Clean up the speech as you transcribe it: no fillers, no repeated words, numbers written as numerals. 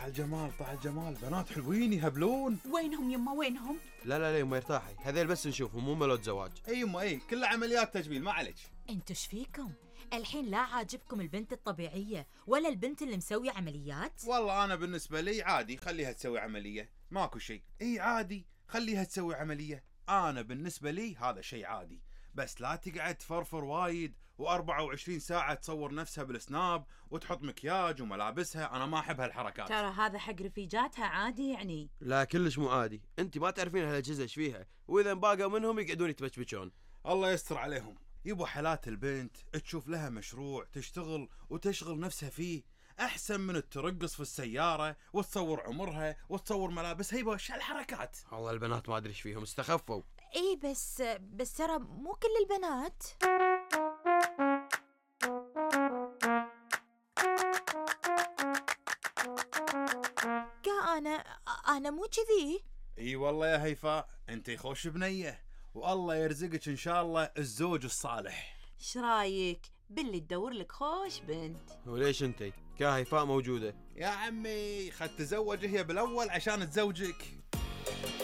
طع الجمال طع الجمال، بنات حلوين يهبلون. وينهم يما وينهم؟ لا يما ارتاحي، هذيل بس نشوفهم مو ملوت زواج. اي يما اي، كلها عمليات تجميل ما عليك. انتو ايش فيكم؟ الحين لا عاجبكم البنت الطبيعية ولا البنت اللي مسوية عمليات؟ والله انا بالنسبة لي عادي، خليها تسوي عملية، ماكو شيء. اي عادي خليها تسوي عملية، انا بالنسبة لي هذا شيء عادي. بس لا تقعد تفرفر وايد و24 ساعة تصور نفسها بالسناب وتحط مكياج وملابسها، انا ما احب هالحركات. ترى هذا حق رفيجاتها عادي يعني. لا كلش مو عادي، انت ما تعرفين هالاجهزه ايش فيها، واذا باقوا منهم يقعدون يتبشبشون. الله يستر عليهم. يبو حالات البنت تشوف لها مشروع تشتغل وتشغل نفسها فيه احسن من ترقص في السيارة وتصور عمرها وتصور ملابسها. يبا ايش هالحركات؟ والله البنات ما ادري ايش فيهم، استخفوا. ايه بس ترى مو كل البنات. انا مو كذي. اي والله يا هيفاء، انتي خوش بنية والله يرزقك ان شاء الله الزوج الصالح. ايش رايك باللي تدور لك خوش بنت؟ وليش انتي كهيفاء موجودة؟ يا عمي خد تزوج هي بالاول عشان تزوجك.